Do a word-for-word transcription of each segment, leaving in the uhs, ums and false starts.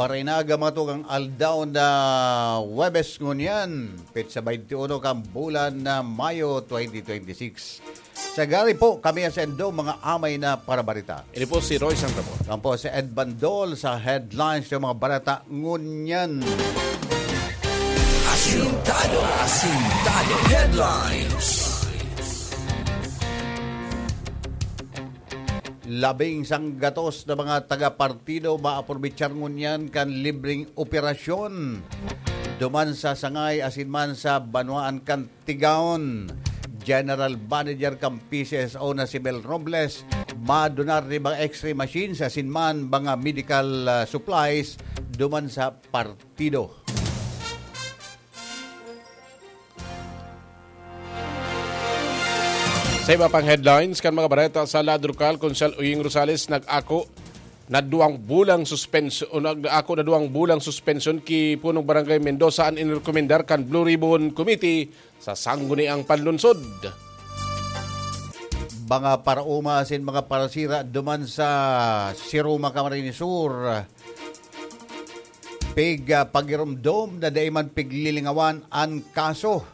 Parainaga, mga tugang, aldaw na Huwebes ngunyan, petsa twenty-one kan bulan na Mayo twenty twenty-six. Sagari po, kami ang sendo, mga amay na parabarita. Ini po si Roy San Ramon. Yan po si Ed Bandol sa headlines ng mga barata ngunyan. Asintado, asintado headlines. Labing sanggatos na mga taga-partido maaprobichar ngunyan kan libreng operasyon duman sa Sangay asin man sa banwaan kan Tigaon. General Manager kan P C S O na si Mel Robles, madonar ni mga X-ray machines asin man mga medical, ah, supplies duman sa partido. Sa iba pang headlines kan mga bareta sa Ladrokal, Konsehal Uying Rosales nag-ako na duwang bulang suspensyon, o nag-ako na duwang bulang suspensyon ki Punong Barangay Mendoza an inrekomendar kan Blue Ribbon Committee sa Sangguniang Panlunsod. Mga paraoma asin mga parasira duman sa Siruma, Camarines Sur. Pig, ah, pagiromdom na dai man piglilingawan an kaso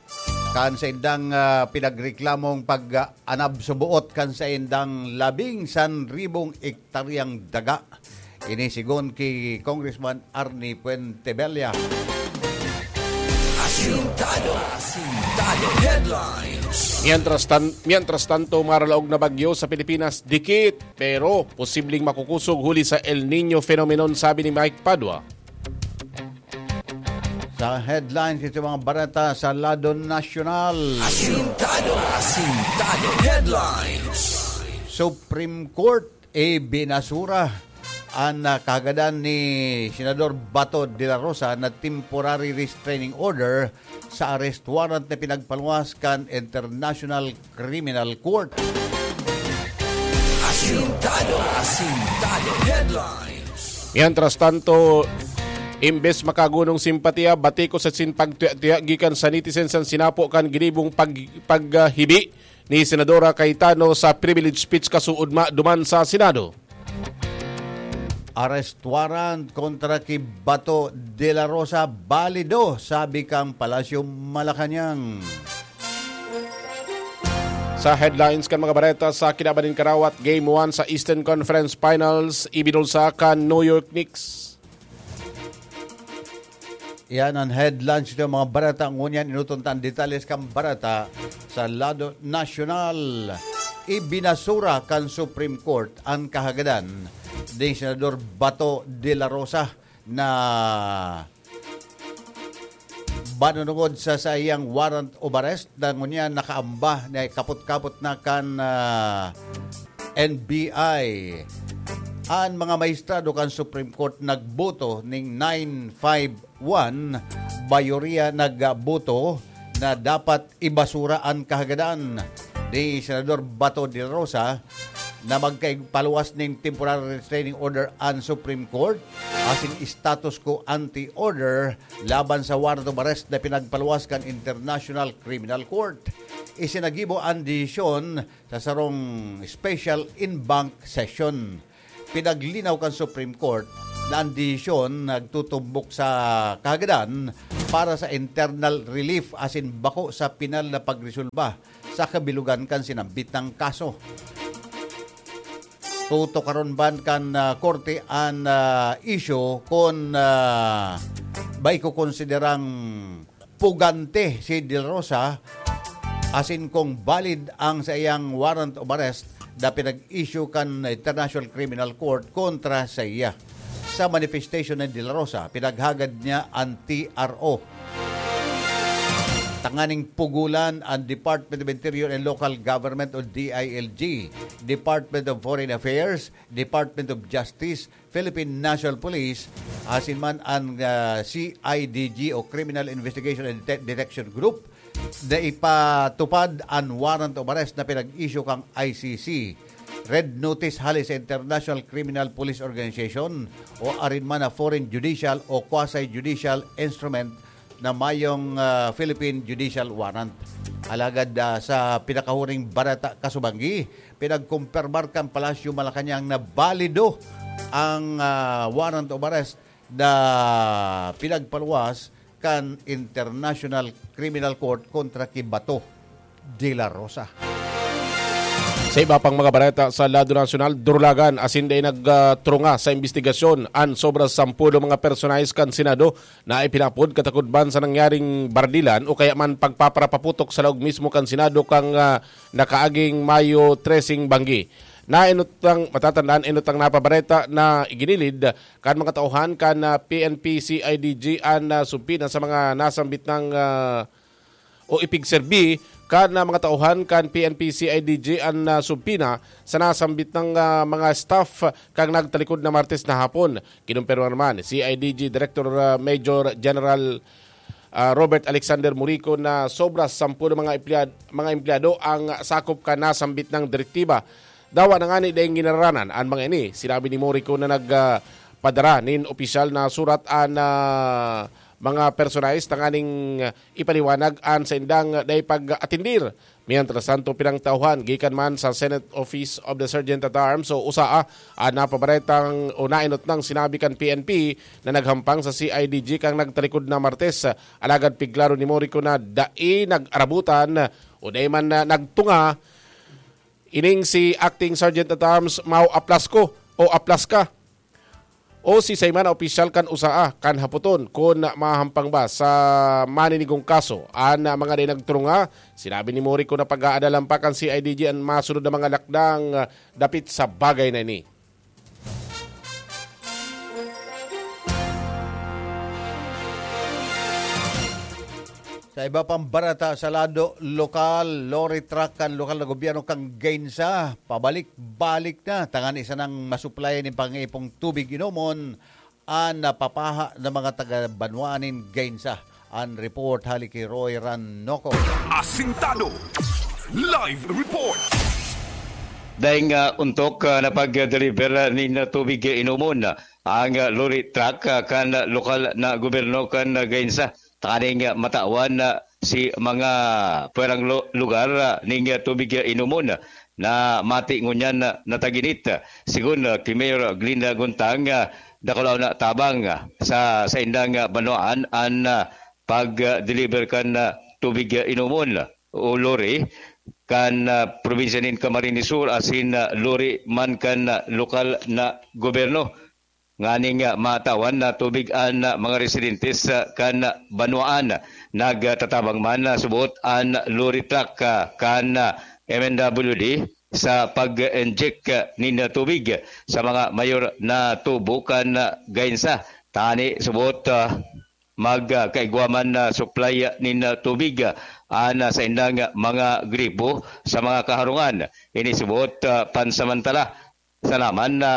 kan saindang, ah, pinagreklamong pag-anab suboot kan saindang labing san ribong ektaryang daga. Ini sigon ki Congressman Arnie Fuentebella. Asintado, asintado headlines. Mientras tan-, mientras tanto, maralaog na bagyo sa Pilipinas, dikit pero posibleng makukusog huli sa El Niño phenomenon, sabi ni Mike Padua. Sa headlines, ito mga bareta sa lado nasyonal. Asintado, asintado headlines. Supreme Court, ibinasura an, ah, kahagadan ni Senador Bato de la Rosa na temporary restraining order sa arrest warrant na pinagpaluwas kan International Criminal Court. Asintado, asintado headlines. Mientras tanto, imbes makagunong simpatiya, batikos asin pagtuya-tuya gikan sa netizens an sinapo kan ginibong pag-, paghibi ni Senadora Cayetano sa privilege speech kasuodma duman sa Senado. Arrest warrant kontra ki Bato de la Rosa balido, sabi kan Palasyo Malacañang. Sa headlines kan mga bareta, sa kinaban nin karawat, Game one sa Eastern Conference Finals, ibinulsa kan New York Knicks. Yan ang headlines ng mga bareta. Ngunyan, inuton ta ang detalles kan bareta sa lado nasyonal. Ibinasura kan Supreme Court ang kahagadan ni Senador Bato de la Rosa na banunungod sa saiyang warrant of arrest na ngunyan nakaamba na kapot-kapot na kan, ah, N B I. An mga maestrado kan Supreme Court nagboto ning nine five one, mayoriya nagboto na dapat ibasura an kahagadan ni Senador Bato de la Rosa na magkaigpaluwas nin temporary restraining order an Supreme Court asin status quo ante order laban sa warrant of arrest na pinagpaluwas kan International Criminal Court. Isinagibo an desisyon sa sarong special en banc session. Pinaglinaw kan Supreme Court na an desisyon nagtutumbok sa kahagadan para sa internal relief asin bako sa pinal na pagresolba sa kabilugan kan sinambit na kaso. Tutukaron man kan, ah, korte an, ah, isyu kun, ah, ba ikokonsiderang pugante si De La Rosa asin kung valid ang saiyang warrant of arrest na pinag-issue kan International Criminal Court kontra saiya. Sa manifestation ni De La Rosa, pinaghagad niya an T R O tanganing pugolan an Department of Interior and Local Government o D I L G, Department of Foreign Affairs, Department of Justice, Philippine National Police, asin man an, ah, C I D G o Criminal Investigation and Dete-, Detection Group na ipatupad an warrant of arrest na pinag-issue kan I C C, Red Notice hale sa International Criminal Police Organization o arin man na foreign judicial o quasi-judicial instrument na mayong, ah, Philippine judicial warrant. Alagad, ah, sa pinakahuring bareta kasubanggi, pinagkumpirmar kan Palasyo Malacañang na balido ang, ah, warrant of arrest na pinagpaluwas kan International Criminal Court kontra ki Bato de la Rosa. Sa iba pang mga bareta sa lado nasyonal, durulagan asin dai nagtrunga sa imbestigasyon an sobra sampulo mga personahes kan Senado na ipinapod katakod man sa nangyaring bardilan o kaya man pagpaparapaputok sa laog mismo kan Senado kan, ah, nakaaging Mayo treseng banggi. Nainutang, matatandaan, inutang na pabareta na iginilid kan mga tauhan kan, ah, P N P C I D G an, ah, subpina sa mga nasambit ng, ah, o ipigserbi kan, ah, mga tauhan kan P N P C I D G an, ah, subpina sa nasambit ng, ah, mga staff kan nagtalikod na Martes na hapon. Kinumpirma naman C I D G Director, ah, Major General, ah, Robert Alexander Murico na sobra sampung mga empleyad-, mga empleyado ang sakop kan nasambit na direktiba. Dawa na ngani daing ginaranan an mga ini. Sinabi ni Murico na nag, ah, padara nin opisyal na surat an, ah, mga personahes tanganing ipaliwanag an saindang dai pag-atindir. Mientras tanto, pinangtauhan gikan man sa Senate Office of the Sergeant at Arms o usaa an napabaretang o nainot nang sinabi kan P N P na naghampang sa C I D G kan nagtalikod na Martes. Alagad pigklaro ni Morico na dai nag-arabutan o dai man na nagtunga ining si Acting Sergeant at Arms Mau Aplasco o Aplaska o si Saymana opisyal kan usaa kan hapoton kun mahampang ba sa maninigong kaso. An mga dai nagtrunga, sinabi ni Morico na pag-aadalan pa kan C I D G an masunod na mga lakdang dapit sa bagay na ini. Sa iba pang barata sa lado lokal, lorry truck kan lokal na gobyerno kan Gainsa, pabalik-balik na tangan isa nang masuplay nin pangipong tubig inomon an napapaha na mga taga-banwaan nin Gainsa. An report hali ki Roy Ranoco. Asintado. Live report. Daing, ah, ontok, ah, na pag-deliver nin tubig inomon, ah, ang, ah, lorry truck, ah, kan lokal na gobyerno kan, ah, Gainsa. Tanganing, ah, matawan, ah, si mga pwerang lo-, lugar, ah, ning, ah, tubig, ah, inomon, ah, na mati ngunyan, ah, nataginit. Sigon, ah, ki Mayor Glenn Guntang, ah, dakulaw na tabang, ah, sa saindang, ah, banwaan an, ah, pag-deliver kan, ah, tubig, ah, inomon o lorry kan, ah, probinsya nin Camarines Sur asin, ah, lorry man kan, ah, lokal na gobyerno. Nganing, ah, matawan na tubig an, ah, mga residentes, ah, kan, ah, banwaan. Nagtatabang man, ah, subot an lorry truck, ah, kan, ah, M N W D sa pag-inject, ah, nin tubig sa mga mayor na tubo kan, ah, Gainsa. Tani subot, ah, mag, ah, kaigwa man na supply, ah, nin, ah, tubig, ah, an, ah, saindang, ah, mga gripo sa mga kaharungan. Ini subot, ah, pansamantala. Salaman na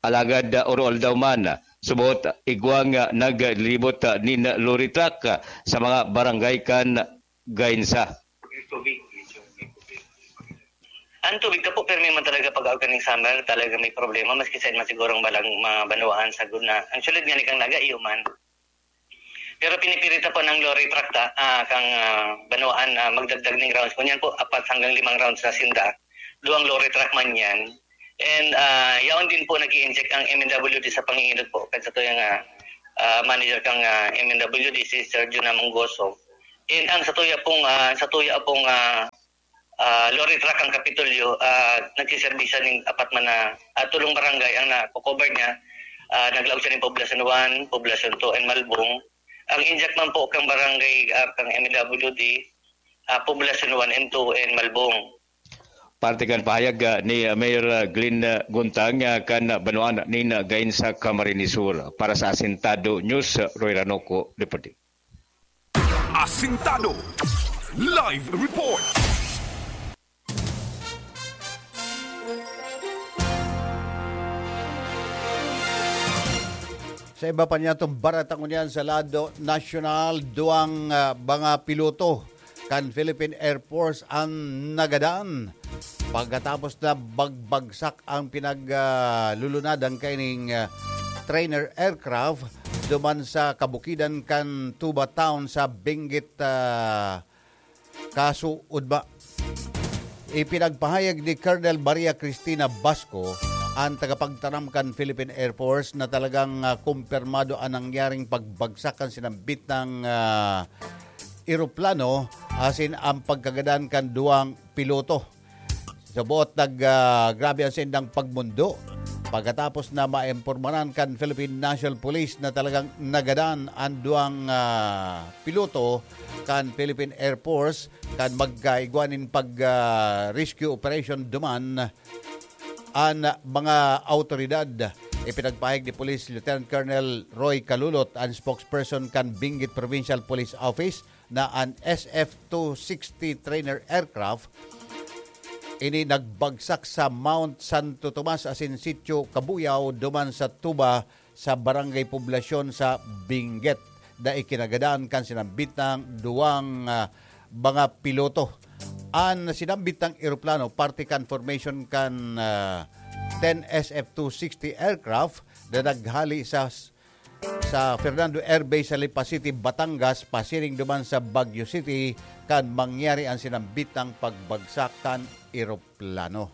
alagad, ah, oro-aldaw man, ah, subot, ah, igwang, ah, naglilibot, ah, nin lorry truck, ah, sa mga barangay kan Gainsa. Ang tubig ka po, permi man talaga pag-aog kaning summer, talaga may problema, maski saan man siguro ang balang mga banwaan sa guna. Ang sulod nga ni kang Naga, iyo man. Pero pinipirita po ng lorry truck ta, ah, kang, ah, banwaan na magdagdag ng rounds. Kunyan po, apat hanggang limang rounds na sinda. Duwang lorry truck man yan. And, ah, yaon din po nag-i-inject ang M N W D sa panginginog po. Kasi ito yung, ah, ah, manager kang, ah, M N W D, si Sergio Namongoso. And ang sa tuya pong, ah, sa tuya pong, ah, ah, lorry truck ang Kapitolyo, ah, nagsiserbi siya ning apat man na, ah, tulong barangay ang nako-cover niya. Ah, naglaog siya ning Poblacion one, Poblacion two, and Malbong. Ang injak man po kang barangay, ah, kang M W D, ah, Poblacion one and two and Malbong. Parte kan pahayag, ah, ni, ah, Mayor, ah, Glenn, ah, Guntang, ah, kan, ah, banwaan nin, ah, Gainsa, Camarines Sur. Para sa Asintado News, ah, Roy Ranoco, reporting. Asintado. Live report. Sa iba pa niyatong barata ngunyan sa lado nasyonal, duwang, ah, mga piloto kan Philippine Air Force ang nagadan pagkatapos na bagbagsak ang pinag, ah, lulunadan kaining, ah, trainer aircraft duman sa kabukidan kan Tuba Town sa Benguet, ah, Kaso, Udma. Ipinagpahayag ni Colonel Maria Cristina Basco an tagapagtaram kan Philippine Air Force na talagang, ah, kumpirmado an nangyaring pagbagsak kan sinambit na, ah, eroplano asin ang pagkagadan kan duwang piloto. Sa buot nag, ah, grabe ang saindang pagmundo pagkatapos na maimpormaran kan Philippine National Police na talagang nagadan an duwang, ah, piloto kan Philippine Air Force kan magkaigwa nin pag, ah, rescue operation duman an mga awtoridad. Ipinagpahayag ni Police Lieutenant Colonel Roy Calulot, an spokesperson kan Benguet Provincial Police Office, na an S F two sixty trainer aircraft ini nagbagsak sa Mount Santo Tomas asin Sitio Kabuyaw duman sa tuba sa Barangay Poblasyon sa Benguet na ikinagadan kan sinambit na duwang, ah, mga piloto. An sinambit na eroplano, parte kan formation kan, ah, ten S F two sixty aircraft na naghali sa, sa Fernando Air Base sa Lipa City, Batangas, pasiring duman sa Baguio City kan mangyari an sinambit na pagbagsak kan eroplano.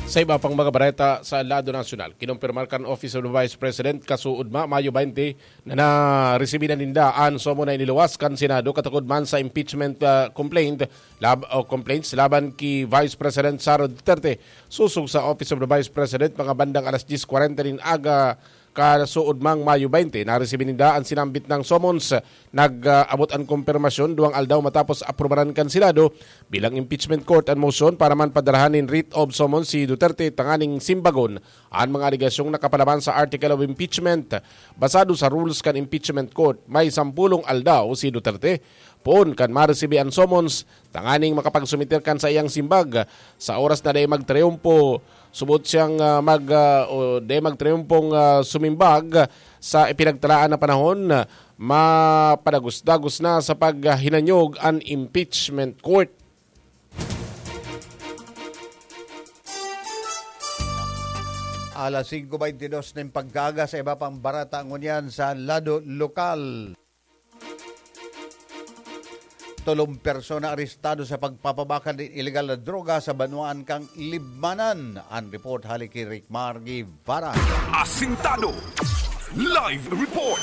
Sa iba pang mga bareta sa lado nasyonal, kinumpirmar kan Office of the Vice President kasuodma, Mayo twenty, na naresibi na ninda an summon na iniluwas kan Senado katukod man sa impeachment, ah, complaint lab-, o complaints laban ki Vice President Sara Duterte. Sosog sa Office of the Vice President, mga bandang alas dyes kwarenta nin aga, kasuodmang Mayo twenty, naresibi ninda an sinambit na summons. Nag-abot an kumpirmasyon duwang aldaw matapos aprubaran kan Senado bilang impeachment court an motion para man padarahan nin writ of summons si Duterte tanganing simbagon an mga alegasyong nakapalaman sa Article of Impeachment. Basado sa rules kan impeachment court, may sampulong aldaw si Duterte poon kan maresibi an summons tanganing makapagsumiter kan saiyang simbag. Sa oras na dai magtriumpo, subot siyang, ah, mag, ah, o dai magtriumpong, ah, sumimbag sa ipinagtalaan na panahon, mapadagus-dagus na sa paghinanyog an impeachment court. Alas singko beintidos nin pagkaaga, sa iba pang bareta ngunyan sa lado lokal. Tolong persona arestado sa pagpapabakal nin ilegal na droga sa banwaan kan Libmanan. An report hali ki Rick Mar Guevara. Asintado. Live report.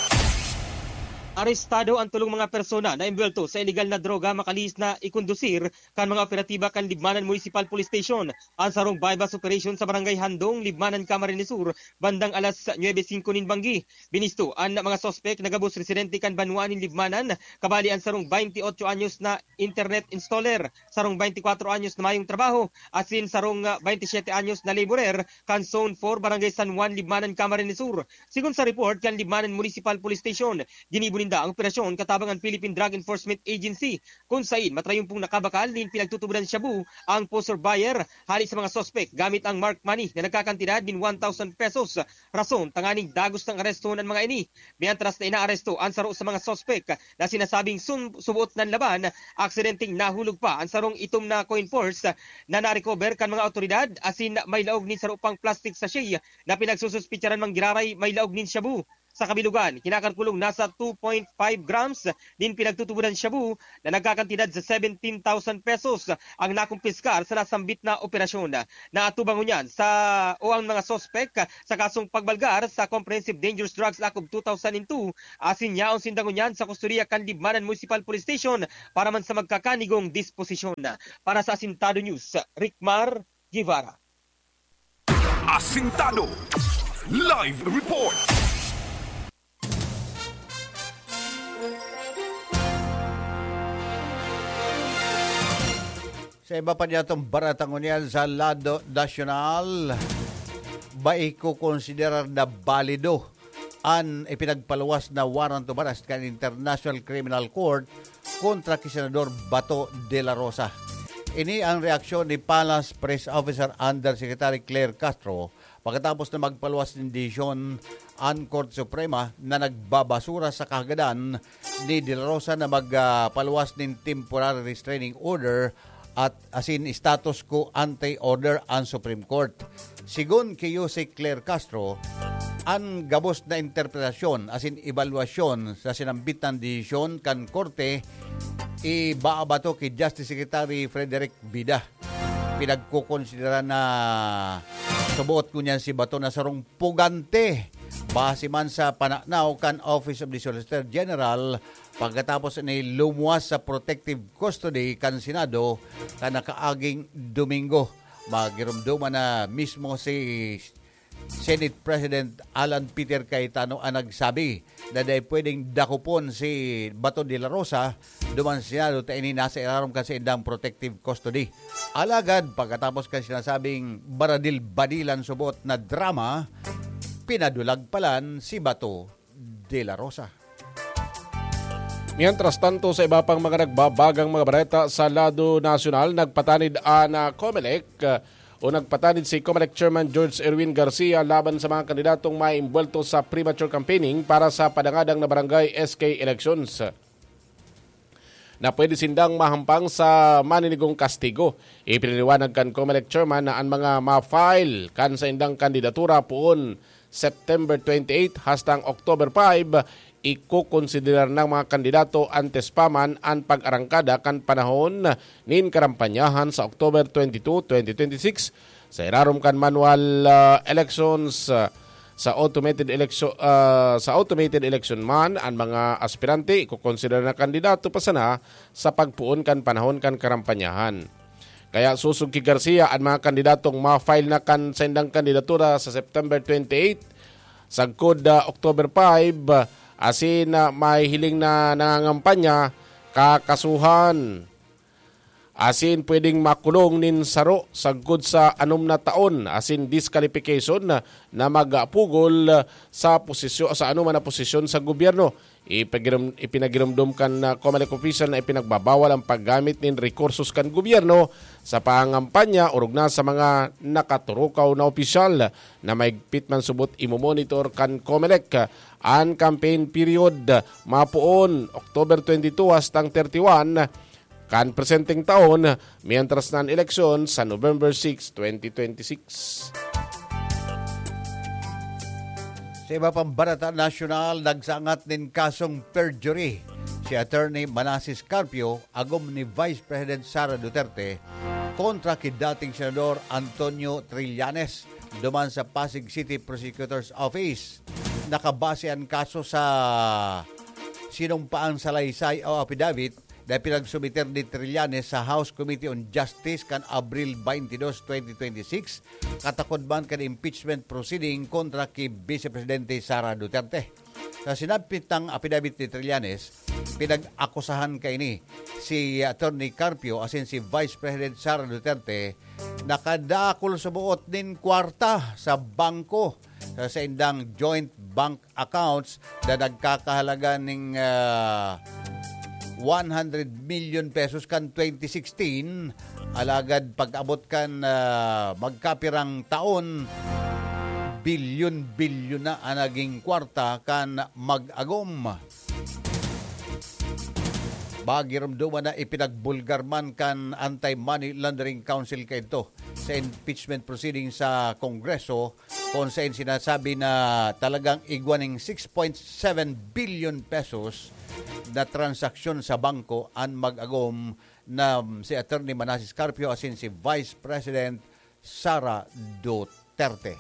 Arestado an tolong mga persona na embwelto sa ilegal na droga makalihis na ikondusir kan mga operatiba kan Libmanan Municipal Police Station. An sarong buy-bust operation sa Barangay Handong, Libmanan, Camarines Sur, bandang alas nuebe singko nin banggi. Binisto an mga suspek na gabos residente kan banwaan nin Libmanan, kabali an sarong baynti otso anyos na internet installer, sarong baynti kwatro anyos na mayong trabaho, asin sarong, ah, baynti syete anyos na laborer kan Zone four, Barangay San Juan, Libmanan, Camarines Sur. Sigon sa report kan Libmanan Municipal Police Station, ginibo ninda ang operasyon katabang an Philippine Drug Enforcement Agency, kun sain matrayumpong nakabakal nin pinagtutubodan shabu ang poser buyer hali sa mga suspek gamit ang marked money na nagkakantidad nin one thousand pesos, rason tanganing dagos nang arestahon an mga ini. Mientras na inaaresto an saro sa mga suspek na sinasabing sun-, subuot nan laban, aksidenteng nahulog pa an sarong itom na coin purse na na-recover kan mga awtoridad, asin may laog nin saro pang plastic sachet na pinagsususpetsaran manggiraray may laog nin shabu. Sa kabilugan, kinakalkulong nasa two point five grams nin pinagtutubodan shabu na nagkakantidad sa seventeen thousand pesos ang nakumpiskar sa nasambit na operasyon. Naatubang ngunyan sa, o ang mga suspek sa kasong pagbalgar sa Comprehensive Dangerous Drugs Act of two thousand two, asin yaon sinda ngunyan sa kustodiya kan Libmanan Municipal Police Station para man sa magkakanigong disposisyon. Para sa Asintado News, Rickmar Guevara. Asintado. Live report. Sa iba pa niyatong bareta ngunyan sa lado nasyonal, bai ko konsiderar na balido an ipinagpaluwas na warrant of arrest kan International Criminal Court kontra ki Senador Bato de la Rosa. Ini ang reaksyon ni Palace Press Officer Undersecretary Claire Castro pagkatapos na magpaluwas nin desisyon an Korte Suprema na nagbabasura sa kahagadan ni De La Rosa na magpaluwas nin temporary restraining order at asin status quo ante order an Supreme Court. Sigon ki Jose Claire Castro, an gabos na interpretasyon asin ebalwasyon sa sinambit na desisyon kan korte ibaabato ki Justice Secretary Frederick Vida. Pinagkukonsidera na suboot ngunyan si Bato na sarong pugante. Base man sa pananaw kan Office of the Solicitor General, pagkatapos ni lumuwas sa protective custody kan Senado kan nakaaging Domingo, magirumduman na mismo si Senate President Alan Peter Cayetano ang nagsabi na dai pwedeng dakopon si Bato de la Rosa duman sa Senado ta ini nasa irarom kan saindang protective custody. Alagad, pagkatapos kan sinasabing baradil-badilan subot na drama, pinadulag palan si Bato de la Rosa. Mientras tanto, sa iba pang mga nagbabagang mga bareta sa lado nasyonal, nagpatanid an, ah, Comelec, ah, o nagpatanid si Comelec Chairman George Erwin Garcia laban sa mga kandidatong maimbwelto sa premature campaigning para sa padangadang na barangay S K elections na pwede sindang mahampang sa maninigong kastigo. Ipinaliwanag kan Comelec Chairman na an mga ma-file kan saindang kandidatura poon September twenty-eight hastang October five, ikokonsiderar ng mga kandidato antes pa man an pag-arangkada kan panahon nin karampanyahan sa October twenty-two, twenty twenty-six. Sa irarom kan manual, ah, elections, ah, sa automated election, ah, sa automated election man, an mga aspirante ikokonsidera na kandidato pa sana sa pagpoon kan panahon kan karampanyahan. Kaya sosog ki Garcia an mga kandidatong ma-file na kan saindang kandidatura sa September twenty-eight, sagkod, ah, October five, asin, ah, mahihiling na nangangampanya, kakasuhan. Asin pwedeng makulong nin saro sagkod sa anom na taon asin disqualification na, na magpugol sa posisyo-, sa anoman na posisyon sa gobyerno. Ipagirum-, ipinagirumdom kan, ah, Comelec official na ipinagbabawal ang paggamit nin rekursos kan gobyerno sa pangangampanya orog na sa mga nakaturukaw na opisyal na maigpit man subot imomonitor kan Comelec. An campaign period mapoon October twenty-two hastang thirty-one kan presenteng taon, mientras na an eleksyon sa November six, twenty twenty-six. Sa iba pang bareta nasyonal, nagsangat nin kasong perjury si Attorney Manases Carpio, agom ni Vice President Sara Duterte, kontra ki dating Senador Antonio Trillanes duman sa Pasig City Prosecutor's Office. Nakabase an kaso sa sinumpaang salaysay o affidavit na pinagsumiter ni Trillanes sa House Committee on Justice kan Abril twenty-two, twenty twenty-six, katakod man kan impeachment proceeding kontra ki Vice Presidente Sara Duterte. Sa sinabit nang apidabit ni Trillanes, pinag-akusahan kaini si Attorney Carpio asin si Vice President Sara Duterte na kadakul sa buot nin kwarta sa bangko sa saindang joint bank accounts na nagkakahalaga ning, ah, one hundred million pesos kan twenty sixteen. Alagad pag-abot kan, ah, magkapirang taon, bilyon-bilyon na ang naging kwarta kan mag-agom. Bagirumduman na ipinagbulgar man kan Anti-Money Laundering Council kaidto sa impeachment proceeding sa Kongreso, kung sain sinasabi na talagang igwa ning six point seven billion pesos na transaksyon sa bangko an mag-agom na si Attorney Manases Carpio asin si Vice President Sara Duterte.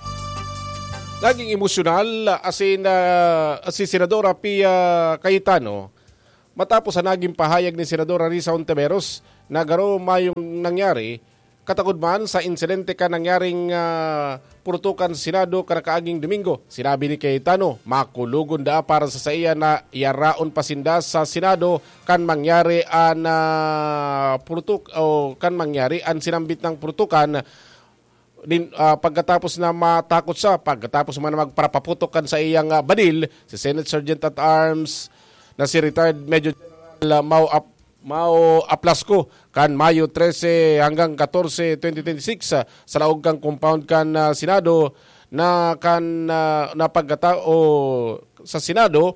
Naging emosyonal asin, ah, si Senadora Pia Cayetano matapos ang naging pahayag ni Senadora Risa Hontiveros na garo mayong nangyari. Katakod man sa insidente kan nangyaring, ah, purutukan sa Senado karakaaging Domingo, sinabi ni Cayetano, makulogon daa para sa saiya na yaraon pa sinda sa Senado kan mangyari an, ah, purutuk-, o kan mangyari an sinambit nang purutukan nin, ah, pagkatapos na matakot siya, pagkatapos man na magparapaputok kan sa iyang, ah, badil, si Senate Sergeant at Arms na si retired Major General, ah, Mau Ap-, Mau Aplasco, kan Mayo trese hanggang katorse, twenty twenty-six, ah, sa laog kan compound kan, ah, Senado na kan, ah, na pagkata-, o sa Senado,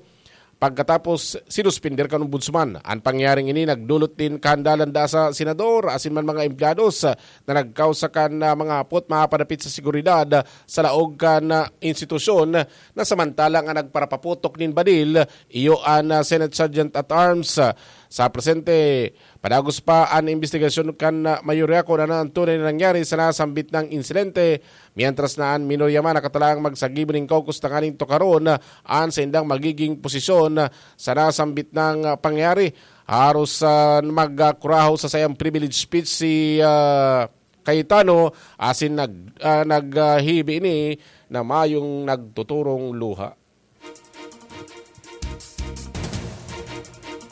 pagkatapos sinuspender kan Ombudsman. An pangyaring ini nagdulot nin kahandalan daa sa senador asin man mga empleyados, ah, na nagkausa kan, ah, mga hapot mapadapit sa seguridad, ah, sa laog kan, ah, institusyon na samantalang an nagparapaputok nin badil, iyo an, ah, Senate Sergeant at Arms, ah, Sa presente, padagos pa an imbestigasyon kan mayorya kun ano ang tunay na nangyari sa nasambit na insidente, mientras na an minorya man nakatalaang magsagibo nin caucus tanganing tukaron an saindang magiging posisyon sa nasambit na pangyayari. Haros, ah, magkurahaw sa saiyang privilege speech si, ah, Cayetano, asin nag-, ah, naghibi ini na mayong nagtuturong luha.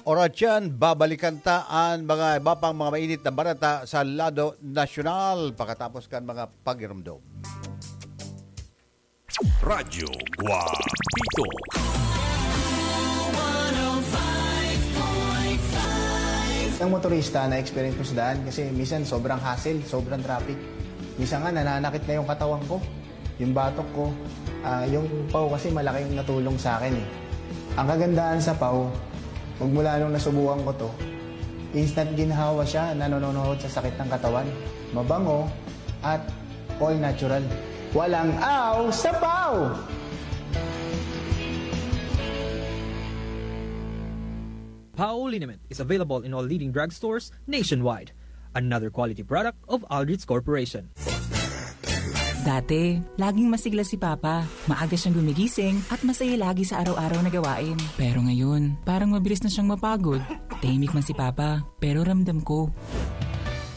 Oras yan, babalikan ta an mga iba pang mga mainit na balita sa lado nasyonal pakatapos kan mga pagirumdom. Radyo Guapito. Ang motorista na experience ko sa daan kasi minsan sobrang hassle, sobrang traffic. Minsan nga nananakit na yung katawan ko, yung batok ko. Ah, yung paw kasi malaking natulong sa akin eh. Ang kagandahan sa paw, magmula nung nasubukan ko to, instant ginhawa siya, nanononohod sa sakit ng katawan. Mabango at all natural. Walang aw sa paw! Pao liniment is available in all leading drugstores nationwide. Another quality product of Aldrich Corporation. Dati, laging masigla si Papa. Maaga siyang gumigising at masaya lagi sa araw-araw na gawain. Pero ngayon, parang mabilis na siyang mapagod. Tahimik man si Papa, pero ramdam ko.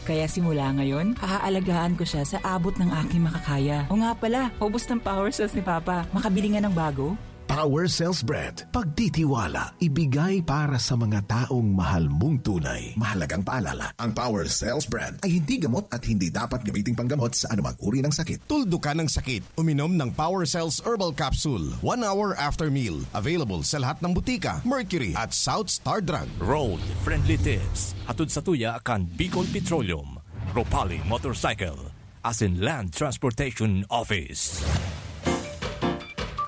Kaya simula ngayon, aaalagaan ko siya sa abot ng aking makakaya. O nga pala, ubos ng power cells ni Papa. Makabili nga ng bago? Power Cells Brand. Pagtitiwala, ibigay para sa mga taong mahal mong tunay. Mahalagang paalala, ang Power Cells Brand ay hindi gamot at hindi dapat gamiting panggamot sa anumang uri ng sakit. Tuldukan ang sakit. Uminom ng Power Cells Herbal Capsule one hour after meal. Available sa lahat ng butika, Mercury at South Star Drug. Road Friendly Tips. Hatod sa tuya kan Bicol Petroleum, Ropali Motorcycle, asin Land Transportation Office.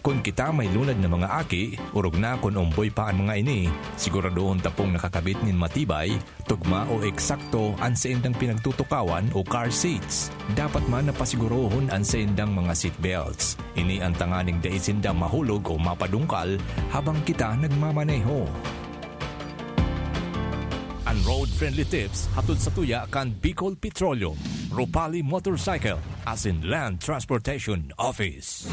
Kun kita may lunad na mga aki, orog na kun omboy pa an mga ini, siguradohon ta pong nakakabit nin matibay, tugma o eksakto an saindang pinagtutukawan o car seats. Dapat man na pasigurohon an saindang mga seat belts. Ini an tanganing dai sinda mahulog o mapadungkal habang kita nagmamaneho. An Road Friendly Tips hatod sa tuya kan Bicol Petroleum, Ropali Motorcycle, asin Land Transportation Office.